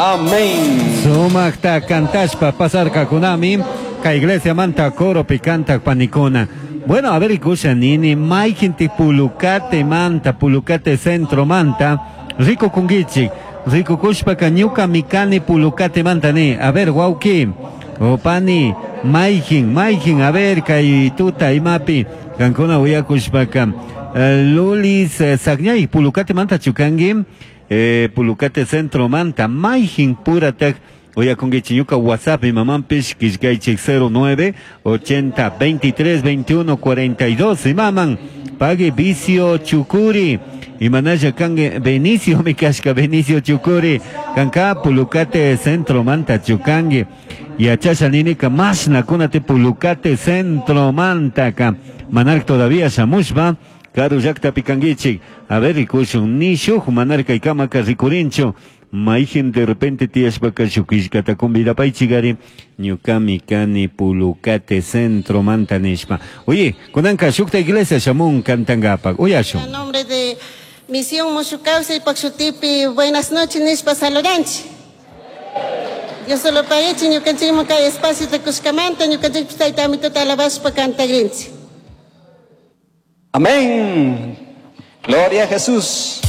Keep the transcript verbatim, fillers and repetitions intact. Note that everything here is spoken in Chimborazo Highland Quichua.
Amén. Sumajta cantashpa pasarkakunami kay iglesia manta coro kantak panikuna. Bueno, a ver, rikusha nini, mayjinti Pulucate manta, Pulucate centro manta, rikukunguichik, rikukushpaka ñukami kani Pulucate manta ni. A ver, wawki, o pani, mayjin, mayjin, a ver, kay tuta imapi, kankuna uyakushpaka. Eh, Lulis eh, Sagñay, Pulucate manta chukangi, eh, Pulucate centro manta, mayjin puratak, uyakunguichik ñuka WhatsApp imamanpish killkaychik cero nueve ochenta veintitrés veintiuno cuarenta y dos imaman pague Vicio Chucuri imanalla kangue Benicio mi kashka Benicio Chucuri kanka Pulucate centro manta chukangue yachasha ninika mashna kunate Pulucate centro manta ka manark todavía shamushpa karu llaktapi kanguichik. A ver, rikushun ni shuk manarka ikamaka rikurinchu. Mayjin de repente tiyashpaka shuk killkata convidapaychikari ñukami kani Pulucate centro manta nishpa. Oye, kunanka shukta iglesia shamun kantangapak. Uyashun. A nombre de Misión Mushuk Kawsay Pakshutipi, buenas noches nishpa saludanchik. Dios solo paguechi ñukanchikman kay espacio de kushkamanta ñukanchikpis tayta amituta alabashpa kantagrinchik. Amén. Gloria a Jesús.